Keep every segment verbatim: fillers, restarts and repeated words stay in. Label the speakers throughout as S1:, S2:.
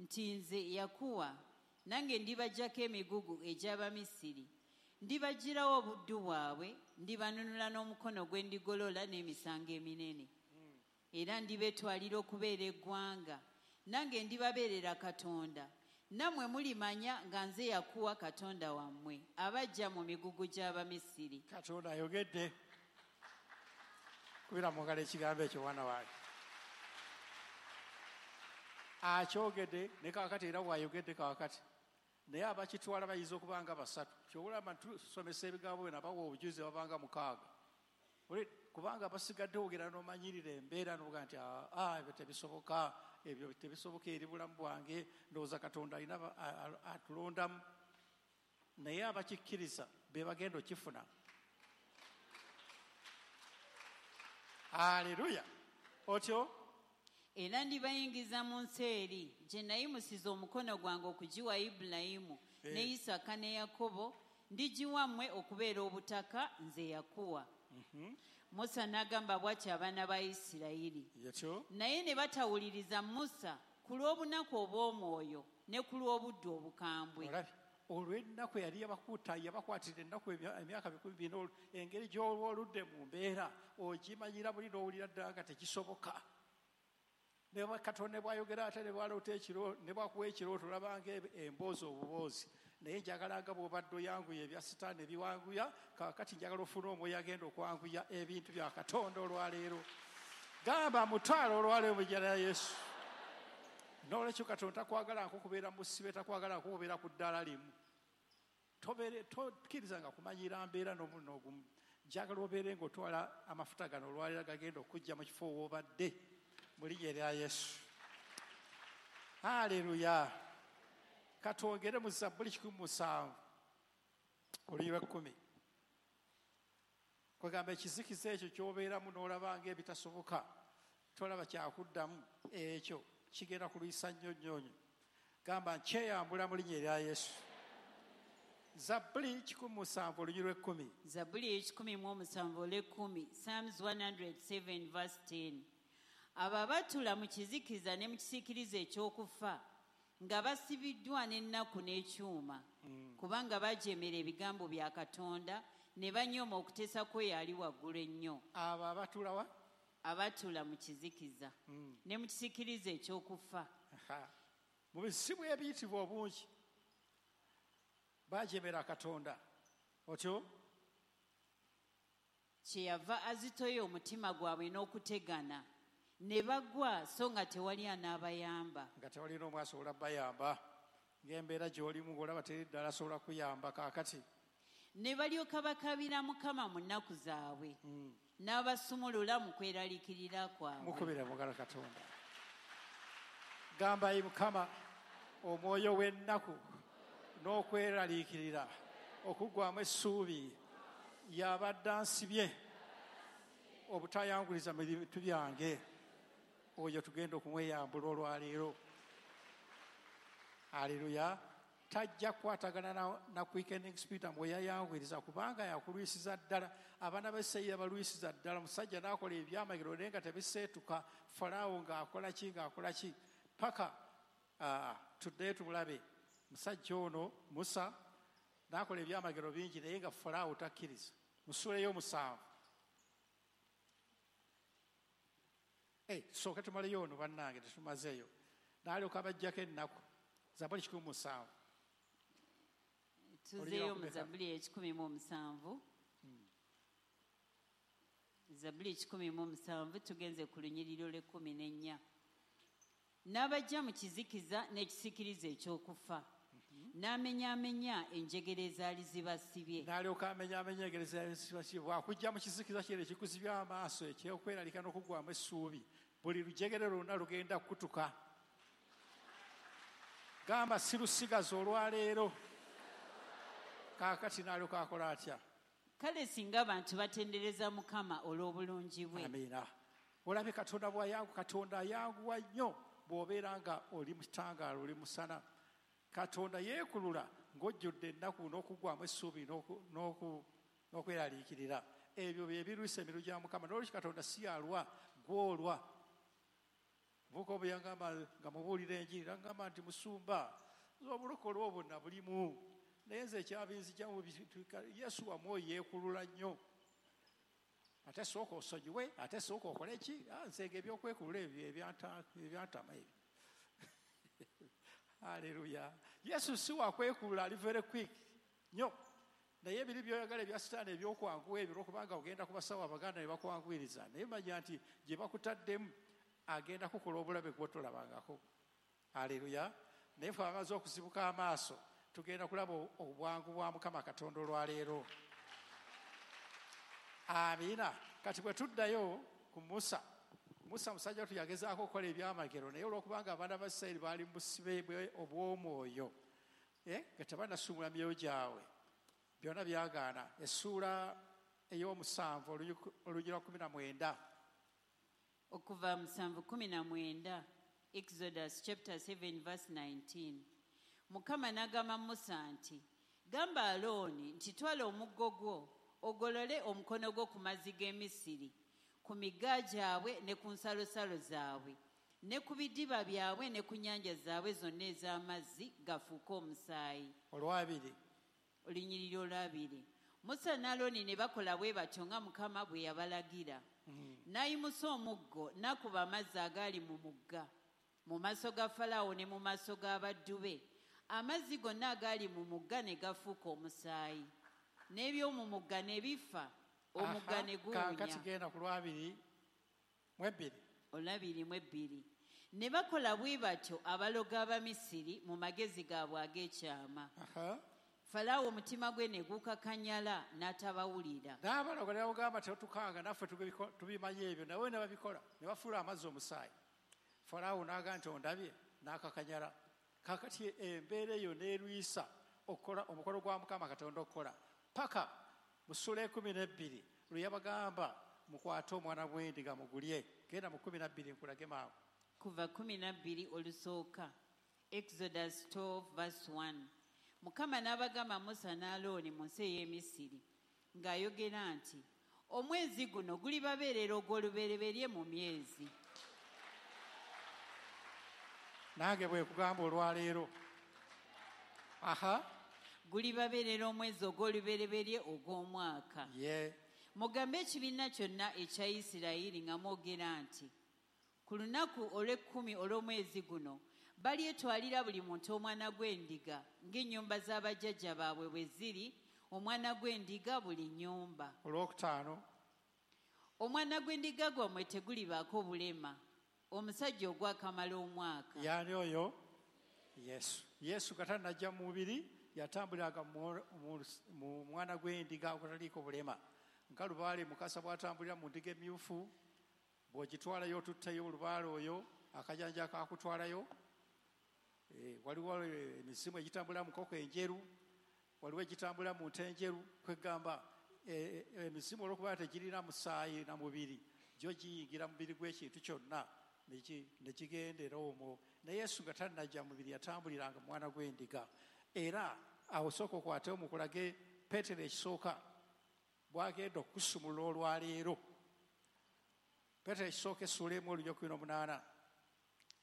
S1: Nti nze Yakuwa, nange ndibaggyako emigugu egy'Abamisiri, ndibaggyirawo obuddu bwabwe, ndibanunula n'omukono gwe ndigolola n'emisango eminene. Era ndibetwalira okubeera eggwanga, nange ndibabeerera Katonda. Nammwe mulimanya nga nze Yakuwa Katonda wammwe, abaggya mu migugu gy'Abamisiri.
S2: Katonda ayogedde. Kubira mu ngalo ekigambo ekyo mwana wange. Akyogedde ne kaakati era bw'ayogedde kaakati. Naye abakitwala bayinza okuba nga basatu. Ky'olaba tusomesa ebigambo bino abawa obujulizi babanga mukaaga. Kubanga basigadde ogera n'omanyirira embeera n'ovuga nti aa ebyo tebisoboka, ebyo tebisoboka eri bulamu bwange, ndowooza Katonda alina atulondamu. Naye abakikkiriza be bagenda okifuna. Aleluya. Otyo?
S1: Era ndibayingiza mu nsi eri gye nayimusiza omukono gwange okugiwa Ibulayimu ne Isaaka ne Yakobo, ndigiwa mmwe okubeera obutaka nze Yakuwa. Musa n'agamba bw'atyo abaana ba Isirayiri. Naye ne batawuliriza Musa ku lw'obunaku obw'omwoyo ne ku lw'obuddu obukambwe.
S2: Olw'ennaku yali yabakuta yabakwatira ennaku emyaka bikumi bina, engeri gy'olwoludde mu mbeera ogimanyira buli n'owulira ddala nga tekisoboka. Ne Katonda bw'ayogera ate ne bw'aloota ekiro ne bw'akuwa ekirooto olabanga emboozi obuboozi. Naye njagala nga bw'obadde oyanguya ebya Sitaani ebiwanguya, kaakati njagala ofune omwoyo agenda okwanguya ebintu bya Katonda olwaleero. Gamba mutwale olwaleero mu linnya lya Yesu. N'olwekyo Katonda takwagala nkukubeera mu sibe, takwagala nkukubeera ku ddaala limu. Tokkirizanga kumanyira mbeera n'omu n'ogumu. Njagala obeere ng'otwala amafuta gano olwaleero gagenda okujja mu kifo w'obadde. Mu linnya lya Yesu. Haleluya. Katwongere mu Zabbuli kikumi musanvu olunyiriri lw'ekkumi. Kwegamba ekizikiza ekyo ky'obeeramu n'olaba ng'ebitasoboka, tolaba kyakuddamu, ekyo kigenda kulwisa nnyo nnyo nnyo. Gamba nkyeyambula mu linnya lya Yesu. Zabbuli kikumi musanvu olunyiriri lw'ekkumi.
S1: Zabbuli ekikumi mu omusanvu olw'ekkumi, Psalms one hundred seven verse ten. Abo abatuula mu kizikiza ne mu kisiikirize eky'okufa, nga basibiddwa n'ennaku n'ekyuma, kubanga bajeemera ebigambo bya Katonda ne banyooma okuteesa kwe yali waggulu ennyo.
S2: Abo abatuula wa?
S1: Abatuula mu kizikiza ne mu kisiikirize eky'okufa.
S2: Mu bizibu ebiyitibwa obungi bajeemera Katonda. Otyo?
S1: Kyeyava azitoya omutima gwabwe n'okutegana, ne bagwa so nga tewali anaabayamba.
S2: Nga tewali n'omu asobola bayamba. Ng'embeera gy'olimu ng'olaba teri ddala asobola kuyamba kaakati.
S1: Ne balyoka bakabira Mukama mu nnaku zaabwe, n'abasumulula mu kweraliikirira kwabwe.
S2: Mukubire mu ngalo Katonda. Gamba ayi Mukama, omwoyo w'ennaku n'okweraliikirira okuggwamu essuubi yabadde ansibye obutayanguliza mu bintu byange. Oyo tugenda okumweyambula olwaleero. Aleluya. Tajja kukwatagana na, na quickening spirit amwe yayanguyiriza kubanga yakulwisiza ddala. Abaana ba Isirayiri yabalwisiza ddala. Omusajja n'akola ebyamagero naye nga tebiseetuka. Falaawo ng'akola ki ng'akola ki paka uh, tuddeyo tumulabe. Musajja ono Musa n'akola ebyamagero bingi naye nga Falaawo takkiriza. Mu ssuula ey'omusanvu. Hey, tusooke tumaleyo ono bannange tetumazeeyo. N'alyoka abaggyako ennaku. Zabbuli kikumi musanvu.
S1: Tuzeeyo mu Zabbuli ekikumi mu musanvu. Zabbuli ekikumi mu musanvu tugenze ku lunyiriri olw'ekkumi n'ennya. N'abajja mu kizikiza n'ekisiikirize eky'okufa, n'amenyaamenya enjegere ezaali zibasibye.
S2: N'alyoka amenyaamenya enjegere ezaali zibasibye. Bw'akujja mu kizikiza kino ekikuzibya amaaso eky'okweraliika n'okuggwamu essuubi, buli lujegere lwonna lugenda kukutuka. Gamba sirusigaza olwaleero. Kaakati n'alyoka akola atya?
S1: Kale singa abantu batendereza Mukama olw'obulungi bwe.
S2: Amiina. Olabe Katonda bw'ayangu, Katonda ayanguwa nnyo bw'obeera nga oli mu kitangaala, oli musana. Katonda yeekulula ng'ojjudde ennaku n'okuggwamu essuubi n'okweraliikirira. Ebyo bye birwisa emiru gya Mukama. N'olwekyo Katonda si yalwa, gw'olwa. Muvubuka omu yangamba nga mubuulira enjiri, nangamba nti musumba, obulokole obwo nabulimu, naye nze ekyabinzigyamu Yesu wamwoyo yeekulula nnyo. Ate sooka osonyiwe, ate sooka okole ki? Nze ebyokwekulula ebyo ebyantama ebyo. Haleluya. Yesu si wakwekulula, ali very quick nnyo. Naye ebiri by'oyagala ebya sitaani ebyokwanguwa ebyo, olwokubanga ogenda ku basawo abaganda ne bakwanguyiriza, naye manya nti gye bakutaddemu agenda kukola obulabe gw'otolabangako. Haleluya. Naye ffe abamaze okuzibuka amaaso tugenda kulaba obwangu bwa Mukama Katonda olwaleero. Amiina. Kati bwe tuddayo ku Musa, Musa musajja wattu yagezaako okukola ebyamagero, naye olwokubanga abaana ba Isirayiri baali mu busibe obw'omwoyo, nga tebannasumula myoyo gyabwe, byonna byagaana. Essuula ey'omusanvu olunyiriri lwa kumi na mwenda.
S1: Okuva musanvu kumi na mwenda, Exodus chapter seven verse nineteen. Mukama n'agamba Musa nti, gamba Alooni nti twala omuggo gwo ogolole omukono gwo ku mazzi g'e Misiri, ku migga gyabwe ne ku nsalosalo zaabwe, ne ku bidiba byabwe ne ku nnyanja zaabwe zonna ez'amazzi gafuuke omusaayi.
S2: Olwabiri.
S1: Olunyiriri olwabiri. Musa ne Alooni ne bakola bwe batyo nga Mukama bwe yabalagira. N'ayimusa omuggo n'akuba amazzi agaali mu mugga mu maaso ga Falaawo ne mu maaso g'abaddu be. Amazzi gonna agaali mu mugga ne gafuuka omusaayi, n'eby'omu mugga ne bifa, omugga ne guwunya.
S2: Kaakati genda ku lwabiri mu ebbiri.
S1: Olwabiri mu ebbiri. Ne bakola bwe batyo abalogo Abamisiri mu magezi gaabwe ag'ekyama. Falaawo omutima gwe ne gukakanyala n'atabawulira.
S2: N'abalogo ne bamugamba tetukanga naffe tubimanyi ebyo, nawe ne babikola ne bafuula amazzi omusaayi. Falaawo n'agamba nti ondabye, n'akakanyala. Kaakati embeera eyo n'erwisa okukola omukolo gwa Mukama Katonda okukola paka mu ssuula ekumi n'ebbiri lwe yabagamba mukwate omwana gw'endiga mugulye. Genda mu kumi na bbiri nkulage maawo.
S1: Kuva kumi na bbiri olusooka, Exodus twelve verse one. Mukama n'abagamba Musa ne Alooni mu nsi ey'e Misiri ng'ayogera nti omwezi guno gulibabeerera ogw'olubereberye mu myezi.
S2: Nange bwe kugamba olwaleero. Aha.
S1: Gulibabeerera omwezi ogw'olubereberye ogw'omwaka.
S2: Ye.
S1: Mugambe ekibiina kyonna ekya Isirayiri nga mwogera nti ku lunaku olw'ekkumi olw'omwezi guno balyetwalira buli muntu omwana gw'endiga ng'ennyumba z'abajjajja baabwe bwe ziri, omwana gw'endiga buli nnyumba.
S2: Olwokutaano.
S1: Omwana gw'endiga gwammwe tegulibaako bulema, omusajja ogwakamala omwaka.
S2: Yaani oyo? Yesu. Yesu nga tannajja mu mubiri yatambuliranga mu mwana gw'endiga ogutaliiko bulema. Nga lubaale Mukasa bw'atambulira mu ndiga emyufu, bw'ogitwalayo otutteyo olubaale oyo, akajanja kakutwalayo. Waliwo emizimu egitambulira mu nkoko enjeru, waliwo egitambulira mu nte enjeru. Kwegamba emizimu olw'okuba tegirina musaayi na mubiri, gyo giyingira mu mubiri gw'ekintu kyonna ne kigendera omwo. Naye Yesu nga tannajja mubiri yatambuliranga mu mwana gw'endiga. Era awo sooka okwatewo mukulage Peetero ekisooka bw'agenda okusumulula olwaleero. Peetero ekisooka essuula emu olunyiriri kumi n'omunaana.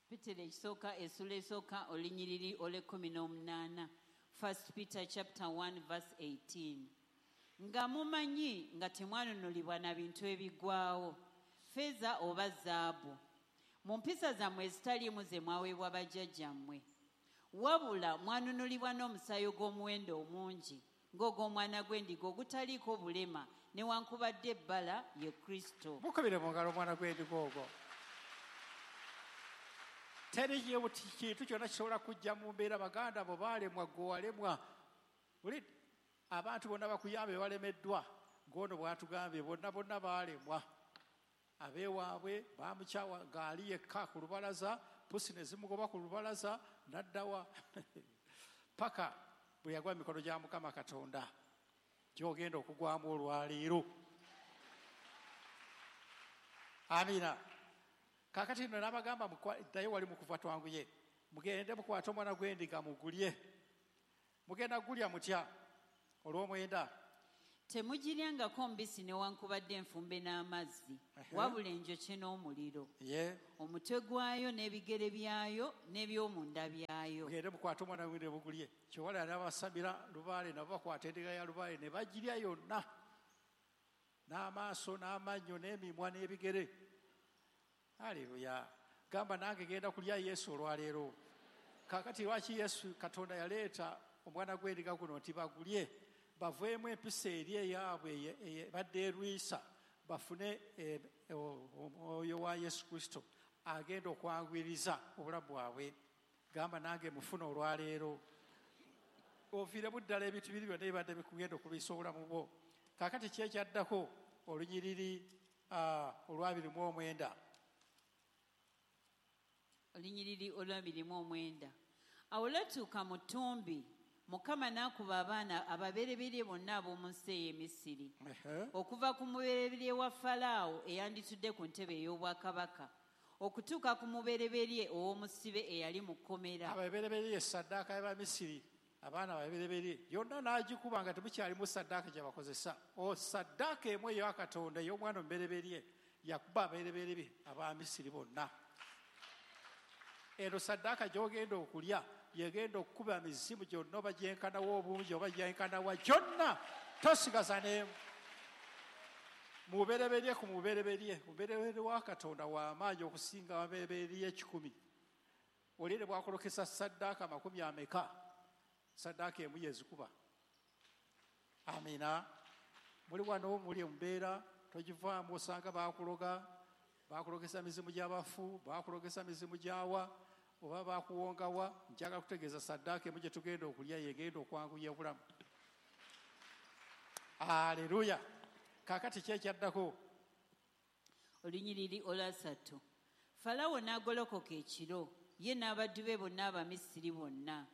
S1: Peetero ekisooka essuula esooka olunyiriri olw'ekkumi n'omunaana. First Peter chapter one verse eighteen. Nga mumanyi nga temwanunulibwa na bintu ebiggwaawo, ffeeza oba zaabu, mu mpisa zammwe ezitaliimu ze mwaweebwa bajjajjammwe, wabula mwanunulibwa n'omusaayi ogw'omuwendo omungi ng'ogw'omwana gw'endiga ogutaliiko bulema newankubadde ebbala ye Kristo.
S2: Mukubire mu ngalo omwana gw'endiga ogwo. Teri kintu kyonna kisobola kujja mu mbeera. Baganda bo baalemwa, gwe walemwa. Buli abantu bonna bakuyambe balemeddwa, ng'ono bw'atugambye bonna bonna baalemwa. Abeewaabwe baamukyawa ng'ali yekka ku lubalaza, pusi ne zimugoba ku lubalaza n'addawa paka bwe yagwa mu mikono gya Mukama Katonda gy'ogenda okugwamu olwaleero. Amiina. Kaakati nno n'abagamba ddayo wali mu kuva twanguye, mugende mukwate omwana gw'endiga mugulye. Mugenda gulya mutya? Olw'omwenda.
S1: Temugiryangako mbisi newankubadde enfumbe n'amazzi, wabula enjokye n'omuliro. Omutwe gwayo n'ebigere byayo n'ebyomunda byayo.
S2: Mugende mukwate omwana w'endiga mugulye. Kyewala n'abasabira lubaale nabo bakwata endiga ya lubaale ne bagirya yonna, n'amaaso n'amannyo n'emimwa n'ebigere. Haleluya. Gamba nange genda kulya Yesu olwaleero. Kaakati lwaki Yesu Katonda yaleeta omwana gw'endiga guno nti bagulye, baveemu empisa eri eyaabwe ebadde erwisa, bafune omwoyo wa Yesu Kristo agenda okwanguyiriza obulamu bwabwe. Gamba nange mufune olwaleero, oviiremu ddala ebintu biri byonna ebibadde bikugenda okulwisa obulamu bwo. Kaakati ki ekyaddako? Olunyiriri olwabiri mu omwenda.
S1: Olunyiriri olwabiri mu omwenda. Awo lwatuuka mu ttumbi, Mukama n'akuba abaana ababereberye bonna ab'omu nsi ey'e Misiri, okuva ku mubereberye wa Falaawo eyanditudde ku ntebe ey'obwakabaka okutuuka ku mubereberye ow'omusibe eyali mu kkomera.
S2: Ababereberye saddaaka y'Abamisiri, abaana ababereberye yonna n'agikuba nga temukyalimu saddaaka gye bakozesa. O saddaaka emu eya Katonda ey'omwana omubereberye yakuba ababereberye Abamisiri bonna. Eno saddaaka gy'ogenda okulya yegenda okukuba emizimu gyonna oba gyenkanawa obungi oba gyenkanawa gyonna, tosigaza n'emu. Mubereberye ku mubereberye, mubereberye wa Katonda w'amaanyi okusinga ababereberye ekikumi. Oli ne bwakolokesa saddaaka makumi ameka, saddaaka emu yezikuba. Amina. Muli wano muli embeera togivaamu, osanga baakuloga, baakulogesa mizimu gy'abafu, baakulogesa mizimu gy'awa, oba bakuwongawa. Njagala kutegeeza saddaaka emu gye tugenda okulya yegenda okwanguya obulamu. Aleluya. Kaakati ki ekyaddako?
S1: Olunyiriri olwasatu. Falaawo n'agolokoka ekiro, ye n'abaddu be bonna Abamisiri bonna.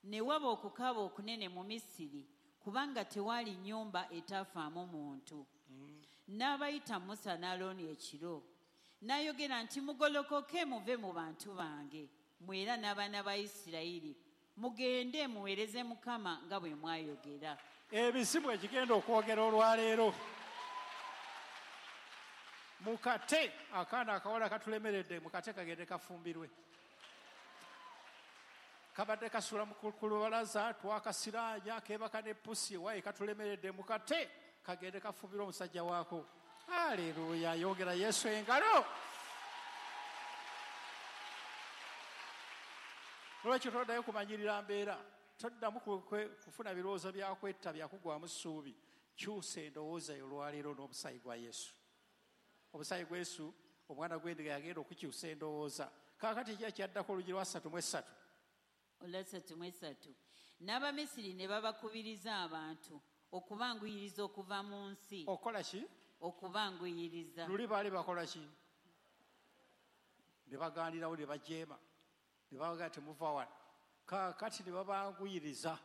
S1: Ne waba okukaaba okunene mu Misiri, kubanga tewaali nnyumba etaafaamu muntu. N'abayita Musa n'Alooni ekiro. N'ayogera nti, mugolokoke muve mu bantu bange, mwera n'abaana ba Isirayiri, mugende muweereze Mukama nga bwe mwayogera.
S2: Ebizibu ekigenda okwogera olwaleero. Mukate akaana akawala katulemeredde, mukate kagende kafumbirwe. Kabadde kasula ku lubalaza, twakasiraanya, keebaka ne pusi, waye katulemeredde, mukate kagende kafumbirwe omusajja waako. Haleluya. Yongera Yesu engalo. Lwaki toddayo kumanyirira mbeera, toddamu kufuna birowoozo byakwetta byakugwamu ssuubi. Kyusa endowooza yo olwaleero n'omusaayi gwa Yesu. Omusaayi gwa Yesu, omwana gw'endiga yagenda okukyusa endowooza. Kaakati ki ekyaddako? Olugi lwa ssatu mu essatu.
S1: Olwasatu mu essatu. N'Abamisiri ne babakubiriza abantu okubanguyiriza okuva mu nsi.
S2: Okukola ki?
S1: Okubanguyiriza.
S2: Luli baali bakola ki? Ne bagaanirawo ne bajeema, ne babaga temuva wano. Kaakati ne babanguyiriza.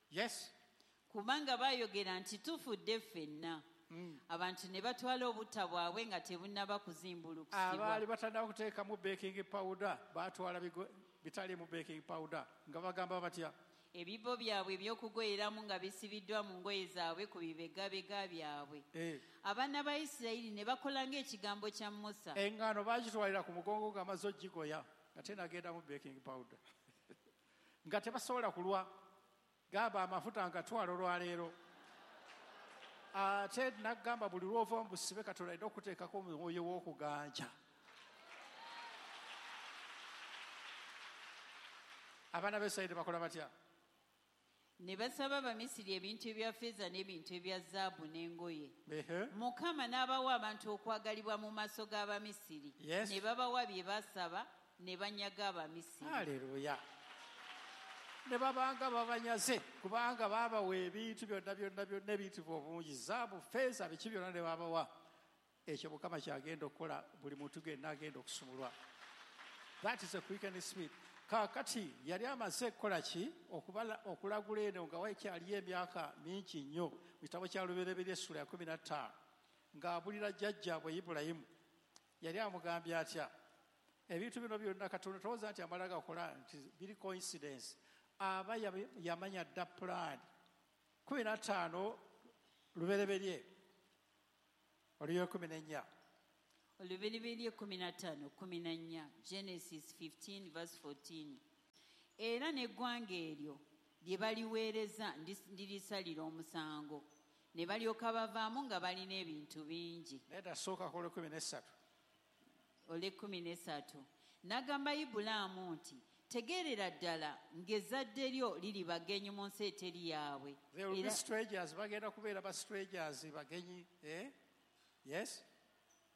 S2: Yes.
S1: Kubanga baayogera nti tufudde ffenna. Mm. Abantu ne batwala obutta bwabwe nga tebunnaba kuzimbulukusibwa.
S2: Abaali batannaba kuteekamu baking powder baatwala bitaliimu baking powder nga bagamba batya?
S1: Ebibbo byabwe eby'okugoyeramu nga bisibiddwa mu ngoye zaabwe ku bibegabega byabwe.
S2: Eh.
S1: Abaana ba Isirayiri ne bakola ng'ekigambo kya Musa.
S2: Eŋŋaano baagitwalira ku mugongo ng'amaze ogigoya nga tenagendamu baking powder. Nga tebasobola kulwa. Gamba amafuta ngatwala olwaleero. Ate nagamba buli lw'ova mu busibe Katonda alina okuteekako omwoyo w'okuganja. Abaana ba Isirayiri bakola batya?
S1: Ne basaba Abamisiri ebintu ebya ffeeza n'ebintu ebya zaabu n'engoye. Mukama n'abawa abantu okwagalibwa mu maaso g'Abamisiri.
S2: Yes.
S1: Ne babawa bye basaba ne banyaga Abamisiri.
S2: Haleluya. Ne babanga babanyaze kubanga babawa ebintu byonna byonna byonna ebiyitibwa obungi, zaabu, ffeeza, biki byonna ne babawa. Ekyo Mukama kyagenda okukola buli muntu genna agenda okusumulwa. That is a quickening spirit. Kaakati yali amaze kukola ki? Okulagula eno nga wakyaliyo emyaka mingi nnyo mu kitabo kya Lubereberye essula ya kkumi na ttaano ng'abulira jjajjaabwe Ibulayimu. Yali amugambye atya? Ebintu bino byonna Katonda tolowooza nti amala gakola nti biri coincidence. Aba yamanya dda pulaani. Kkumi na ttaano Lubereberye olw'ekkumi n'ennya.
S1: Olubereberye kkumi na ttaano kkumi na nnya, Genesis fifteen verse fourteen. Era n'eggwanga eryo lye baliweereza ndirisalira omusango, ne balyoka bavaamu nga balina ebintu bingi.
S2: Nedda, sooka ku olw'ekkumi n'essatu.
S1: Olw'ekkumi n'essatu. N'agamba Ibulaamu nti, tegeerera ddala ng'ezzadde lyo liri bagenyi mu nsi eteri yaabwe.
S2: They will be strangers, bagenda kubeera ba strangers, bagenyi, eh? Yes?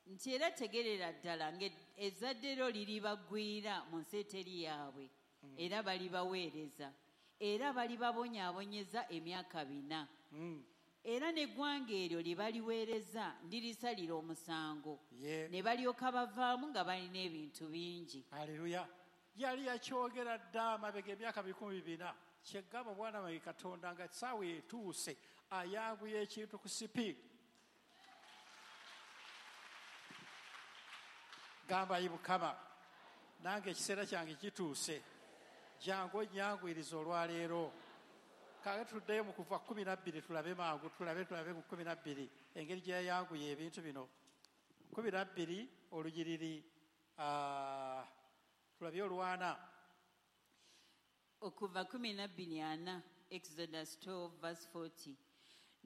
S1: Nti era tegeerera ddala ng'ezzadde lyo liri bagwira mu nsi eteri yaabwe,
S2: mm.
S1: era balibaweereza, era balibabonyaabonyeza emyaka bina.
S2: Mm.
S1: Era n'eggwanga eryo lye baliweereza ndirisalira omusango,
S2: yeah.
S1: ne balyoka bavaamu nga balina ebintu bingi.
S2: Haleluya. Yali yakyogera dda amabega emyaka bikumi bina. Kyegamba bwana wange Katonda nga essaawa etuuse ayanguya ekintu ku sipiidi. Gamba ayi Mukama, nange ekiseera kyange kituuse, jangu onnyanguyirize olwaleero. Kaakati tuddeyo mu kuva kkumi na bbiri tulabe mangu, tulabe tulabe ku kkumi na bbiri engeri gye yayanguya ebintu bino. Kkumi na bbiri olunyiriri uh, tulabye olwana.
S1: Okuva kkumi na bbiri ana, Exodus twelve verse forty.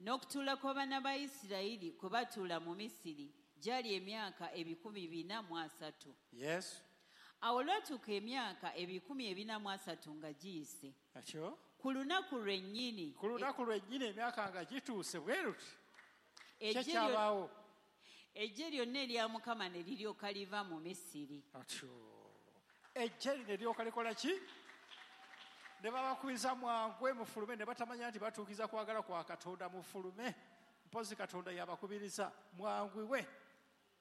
S1: N'okutuula kw'abaana ba Isirayiri kwe batuula mu Misiri gyali emyaka ebikumi bina mu asatu.
S2: Yes.
S1: Awo olwatuuka emyaka ebikumi ebina mu asatu nga giyise.
S2: Ekyo?
S1: Ku lunaku lwennyini.
S2: Ku lunaku lwennyini emyaka nga gituuse bwe luti. Kyekyabaawo.
S1: Eggye lyonna erya Mukama ne liryoka liva mu Misiri.
S2: Atyo. Eggye lino eryoka likola ki? Ne babakubiriza mwangwe mufulume, ne batamanya nti batuukiza kwagala kwa Katonda mufulume. Mpozi Katonda yabakubiriza mwangwiwe.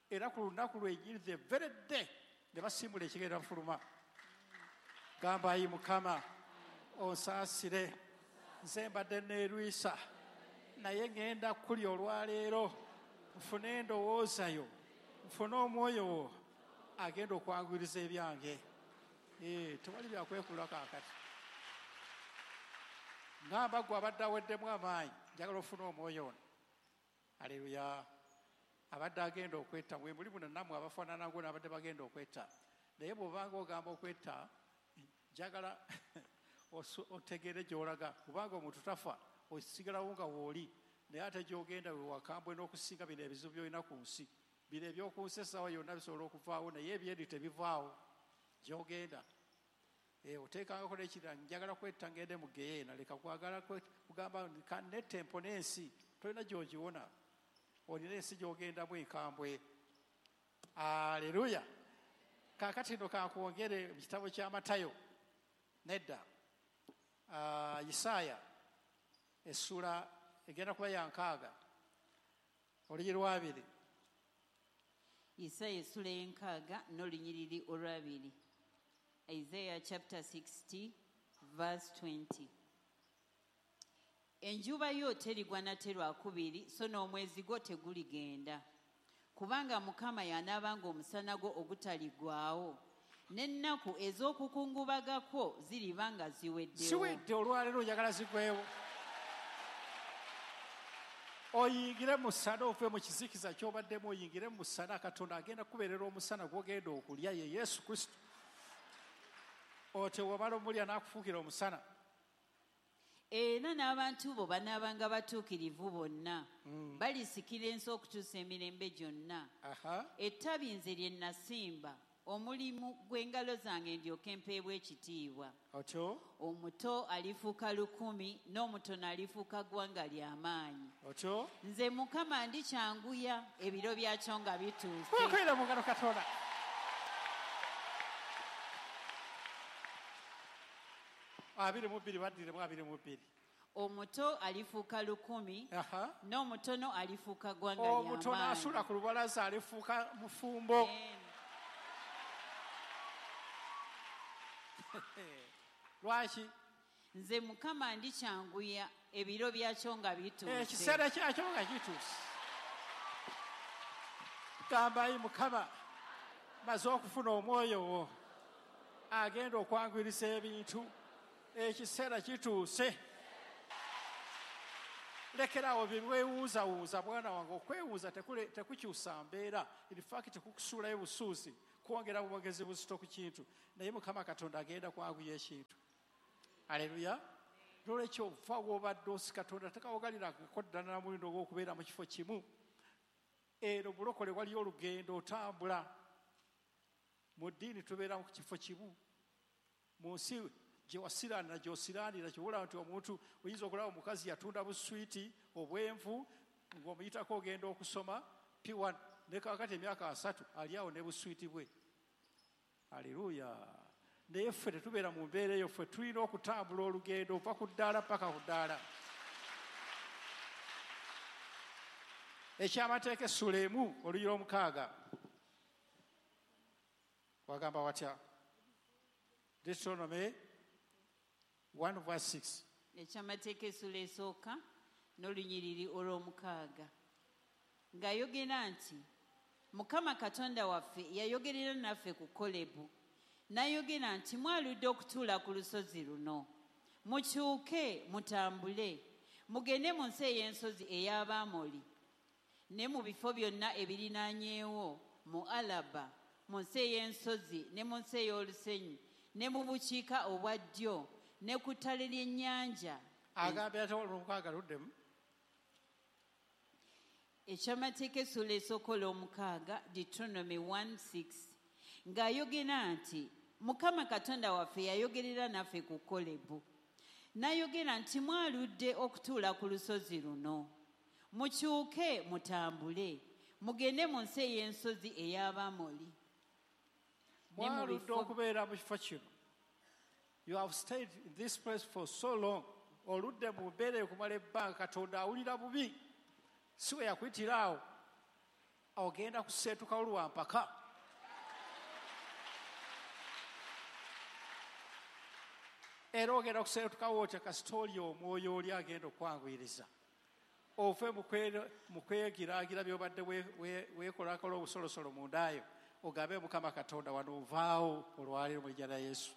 S2: Era ku lunaku lwennyini, the very day, ne basimbula ekigere bafuluma. Gamba ayi Mukama, onsaasire, nze mbadde neerwisa, naye ŋŋenda kulya olwaleero, nfune endowooza yo, nfune omwoyo wo agenda okwanguyiriza ebyange. Eh, tewali byakwekula kaakati. Ngamba gwe abadde aweddemu amaanyi, njagala ofune omwoyo ono. Aleluya. Abadde agenda okwetta, mwe muli muno nammwe abafaanana ngo n'abadde bagenda okwetta. Naye bw'obanga ogamba okwetta, njagala otegeere gy'olaga, kubanga omuntu tafa, osigalawo nga w'oli, naye ate gy'ogenda we wakambwe n'okusinga bino ebizibu by'olina ku nsi. Bino eby'oku nsi essaawa yonna bisobola okuvaawo, naye ebyeri tebivaawo gy'ogenda. Eh, oteekangako n'ekirala, njagala kwetta ngende mu geyeena, leka kwagala kugamba nette mpone ensi, tolina gy'ogiwona. Olina ensi gy'ogendamu enkambwe. Aleluya. Kaakati nno kankwongere mu kitabo kya Matayo. Nedda. Uh, Isaaya essuula egenda kuba ya nkaaga olunyiriri lwabiri.
S1: Isaaya essuula y'enkaaga n'olunyiriri olwabiri. Isaiah chapter sixty verse twenty. Enjuba yo terigwa nate lwakubiri, so n'omwezi gwo teguligenda. Kubanga Mukama y'anaabanga omusana gwo ogutaliggwaawo, n'ennaku ez'okukungubagako ziriba nga ziweddewo.
S2: Ziwedde olwaleero njagala zigwewo. Oyingire mu musana ove mu kizikiza ky'obaddemu, oyingire mu musana. Katonda agenda kukubeerera omusana gw'ogenda okulya, ye Yesu Kristo. Otyo bw'omala omulya n'akufuukira omusana.
S1: Era n'abantu bo banaabanga batuukirivu bonna,
S2: mm.
S1: balisikira ensi okutuusa emirembe gyonna. Ettabi nze lye nasimba, omulimu gw'engalo zange ndyoke mpeebwe ekitiibwa.
S2: Otyo?
S1: Omuto alifuuka lukumi, n'omutono alifuuka ggwanga ly'amaanyi.
S2: Otyo?
S1: Nze Mukama ndikyanguya ebiro byakyo nga bituuse.
S2: Mukwira mu ngalo Katonda. Abiri mu bbiri baddiremu abiri mu bbiri.
S1: Omuto alifuuka lukumi, n'omutono alifuuka ggwanga ly'amaanyi.
S2: Omutono asula ku lubalaza alifuuka mufumbo. Lwaki?
S1: Nze Mukama ndikyanguya ebiro byakyo nga bituuse.
S2: Ekiseera kyakyo nga kituuse. Gamba ayi Mukama, maze okufuna omwoyo wo agenda okwanguyiriza ebintu. Ekiseera kituuse. Lekeraawo bye weewuuzawuuza bwana wange. Okwewuuza tekule- tekukyusa mbeera. In fact, kukusuulayo busuuzi, kwongera bwongezi buzito ku kintu. Naye Mukama Katonda agenda kwanguya ekintu. Aleluya. Nolwekyo ova w'obadde osi, Katonda tekawogalirako ddala na mulindo ogw'okubeera mu kifo kimu. Eno bulokole waliyo olugendo otambula. Mu ddiini tubeera mu kifo kimu. Mu nsi gye wasiraanira gy'osiraanira, kyobulaba nti omuntu oyinza okulaba omukazi yatunda buswiti obwenvu ng'omuyitako ogenda okusoma P one, ne kaakati emyaka asatu ali awo ne buswiti bwe. Aleluya. Naye ffe tetubeera mu mbeera eyo. Ffe tulina okutambula olugendo ova ku ddaala paka ku ddaala. Ekyamateeka essula emu olunyiriri omukaaga wagamba watya? Deuteronomy one verse six.
S1: Ekyamateeka essula esooka n'olunyiriri olw'omukaaga, ng'ayogera nti, Mukama Katonda waffe yayogerera naffe ku Kolebu, n'ayogera nti, "Mwaludde okutuula ku lusozi luno. Mukyuke mutambule mugende mu nsi ey'ensozi ey'Abamoli, ne mu bifo byonna ebirinaanyeewo, mu Alaba, mu nsi ey'ensozi, ne mu nsi ey'olusenyi, ne mu bukiika obwa ddyo, ne ku ttale ly'ennyanja."
S2: Agambye ate olwomukaaga luddemu.
S1: Ekyamateeka essula esooka olw'omukaaga, Deuteronomy one six, ng'ayogera nti, Mukama Katonda waffe yayogerera naffe ku Kolebu, n'ayogera nti, "Mwaludde okutuula ku lusozi luno. Mukyuke mutambule mugende mu nsi ey'ensozi ey'Abamoli ne mu
S2: Mwaludde
S1: bifo
S2: okubeera mu kifo kino. You have stayed in this place for so long. Oludde mu mbeera eyo okumala ebbanga. Katonda awulira bubi. Si we yakuyitira awo, ogenda kuseetukawo lwampaka. Era ogenda kuseetukawo otya? Kasita oli omwoyo oli agenda okwanguyiriza ove mu kwe- mu kwegiraagira byobadde we- we- weekolakola obusolosolo mundaayo, ogambe, "Mukama Katonda, wano nvaawo olwaleero mu linnya lya Yesu."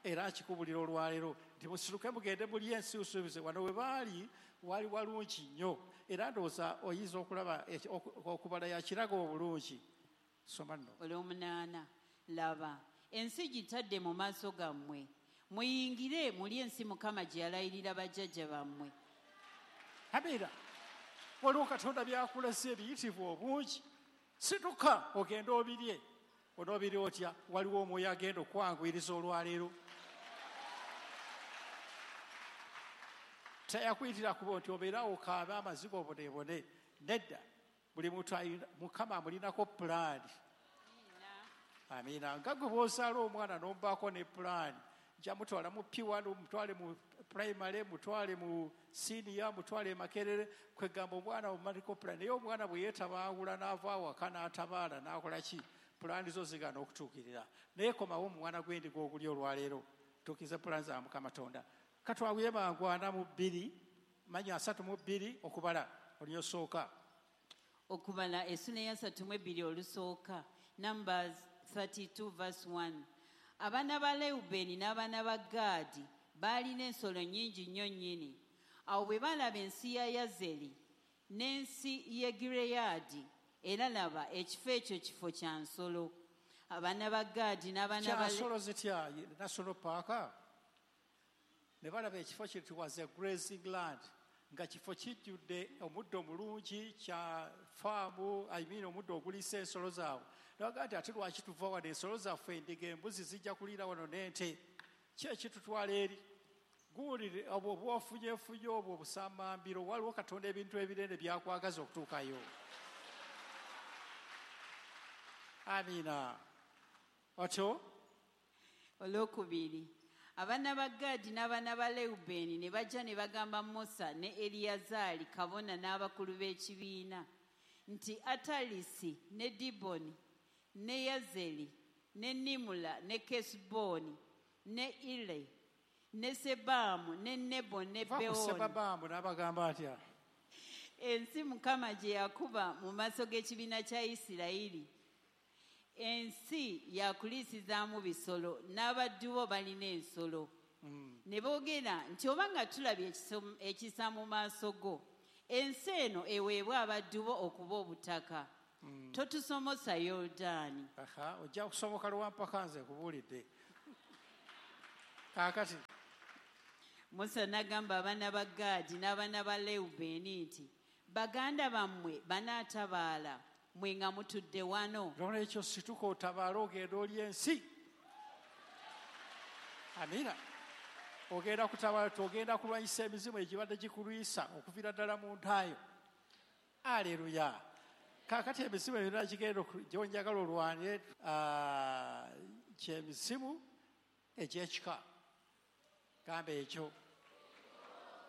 S2: Era nkikubulira olwaleero nti musituke mugende muli ensi usuubize. Wano we baali wali walungi nnyo. Era ndowooza oyinza okulaba eki- oku- okubala yakiraga obulungi. Soma nno.
S1: Olw'omunaana, laba, ensi gitadde mu maaso gammwe. Muyingire muli ensi Mukama gye yalayirira bajjajja bammwe.
S2: Amiina. Waliwo Katonda byakulese ebiyitivu obungi. Situka ogende obirye. Onoobirye otya? Waliwo omwoyo agenda okwanguyiriza olwaleero. Teyakuyitira kuba nti obeerawo okaabe amaziga obonebone. Nedda, buli muntu alina- Mukama amulinako pulaani. Amiina. Nga gwe bw'ozaala omwana n'omubaako ne pulaani, nja mutwala mu P one, mutwale mu primary, mutwale mu senior, mutwale e Makerere. Kwegamba omwana omumaliko pulaani. Naye omwana bwe yeetabangula n'ava awaka n'atabaala n'akola ki, pulaani zo zigaana okutuukirira. Naye komawo omwana gw'endiga oguli olwaleero, tuukirize pulaani za Mukama Tonda. Katwaguye mangu. Ana mu bbiri, manya asatu mu bbiri, okubala olunyosooka.
S1: Okubala essula eyasatu mu ebbiri olusooka, Numbers thirty-two verse one. Abaana ba Lewubeeni n'abaana ba Gaadi baalina ensolo nnyingi nnyo nnyini. Awo bwe balaba ensi ya Yazeri n'ensi y'e Gireyaadi, era laba, ekifo ekyo kifo kya nsolo. Abaana ba Gaadi n'abaana ba
S2: Kyansolo zitya? National park. Ne balaba ekifo kiri, it was a grazing land, nga kifo kijjudde omuddo omulungi, kya faamu, I mean omuddo oguliisa ensolo zaabwe. Nabagaa nti, "Ate lwaki tuva wano? Ensolo zaffe, endiga, embuzi zijja kuliira wano n'ente. Ki ekitutwala eri?" Guwulire obwo obwofunyefunye, obwo obusamambiro. Waliwo Katonda ebintu ebinene byakwagaza okutuukayo. Amiina. Otyo.
S1: Olwokubiri, abaana ba Gaadi n'abaana ba Lewubeeni ne bajja ne bagamba Musa ne Eriyazaali kabona n'abakulu b'ekibiina nti, "Atalisi ne Diboni ne Yazeri ne Nimula ne Kesuboni ne Ire ne Sebaamu ne Nebo ne
S2: Va ku
S1: Beoni."
S2: Sebabaamu n'abagamba atya?
S1: Ensi Mukama gye yakuba mu maaso g'ekibiina kya Isirayiri, ensi yakuliisizaamu bisolo, n'abaddu bo balina ensolo. Ne boogera nti, "Oba nga tulabye ekiso- ekisa mu maaso go, Ensi eno eweebwa abaddu bo okuba obutaka. Totusomosa Yoludaani.
S2: Aha, ojja kusomoka lwampaka nze nkubuulidde. Kaakati
S1: Musa n'agamba abaana ba Gaadi n'abaana ba Lewubeeni nti, baganda bammwe banaatabaala, mmwe nga mutudde wano.
S2: Nolwekyo situka otabaale ogenda oli ensi. Amiina. Ogenda kutabaala, ogenda kulwanyisa emizimu egibadde gikulwisa okuviira ddala mu ntaayo. Aleluya. Kaakati emizimu emirala gigenda gy'onjagala olwane, ky'emizimu egy'ekika. Gamba ekyo.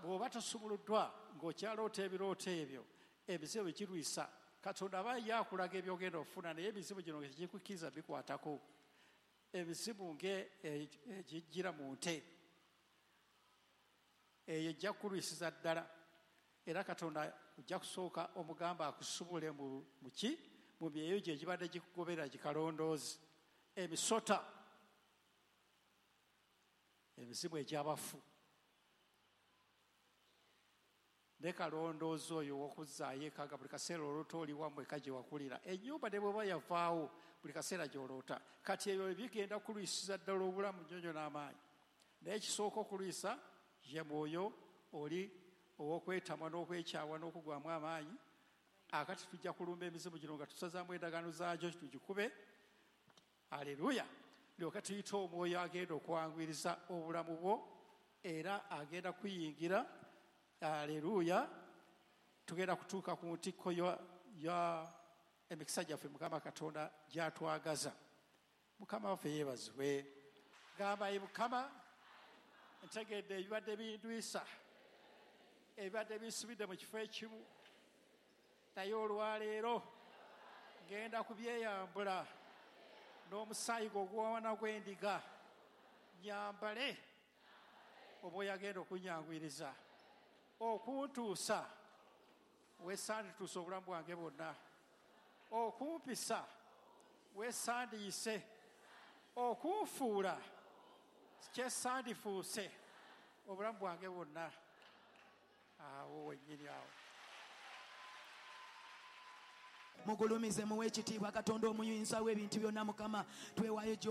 S2: Bw'oba tosumuluddwa ng'okyaloota ebirooto ebyo, emizimu girwisa. Katonda aba ye akulaga ebyogenda okufuna, naye emizimu gino tegikukkiriza bikwatako. Emizimu ng'egijjira mu nte, eyo ejja kukulwisiza ddala. Era Katonda ojja kusooka omugamba akusubule mu ki? Mu myeyo gye egibadde gikugobera gikalondoozi. Emisota, emizimu egy'abafu. Ne kalondoozi oyo ow'okuzzaayo eka nga buli kaseera oloota oli wammwe eka gye wakulira. Ennyumba ne bw'eba yavaawo buli kaseera gy'oloota. Kati ebyo bigenda kulwisiza ddala obulamu nnyonyo n'amaanyi. Naye ekisooka okulwisa ye mwoyo oli ow'okwetamwa n'okwekyawa n'okugwamu amaanyi. Akati tujja kulumba emizimu gino nga tusazaamu endagaano zaagyo tugikube. Aleluya. Lyoka tuyite omwoyo agenda okwanguyiriza obulamu bwo, era agenda kuyingira. Aleluya. Tugenda kutuuka ku ntikko ya emikisa gyaffe Mukama Katonda gy'atwagaza. Mukama waffe yeebazibwe. Gamba, ye Mukama, ntegedde ebibadde bindwisa, ebibadde binsibidde mu kifo ekimu, naye olwaleero ngenda kubyeyambula n'omusaayi gwo ogw'omwana gw'endiga, nyambale omwoyo agenda okunyanguyiriza okuntuusa wesandituusa obulamu bwange bwonna, okumpisa wesandiyise, okunfuula kyesandifuuse obulamu bwange bwonna. Awo wennyini awo.
S3: Mugulumize muwe ekitiibwa Katonda omuyinza w'ebintu byonna. Mukama, twewaayo gy'oli.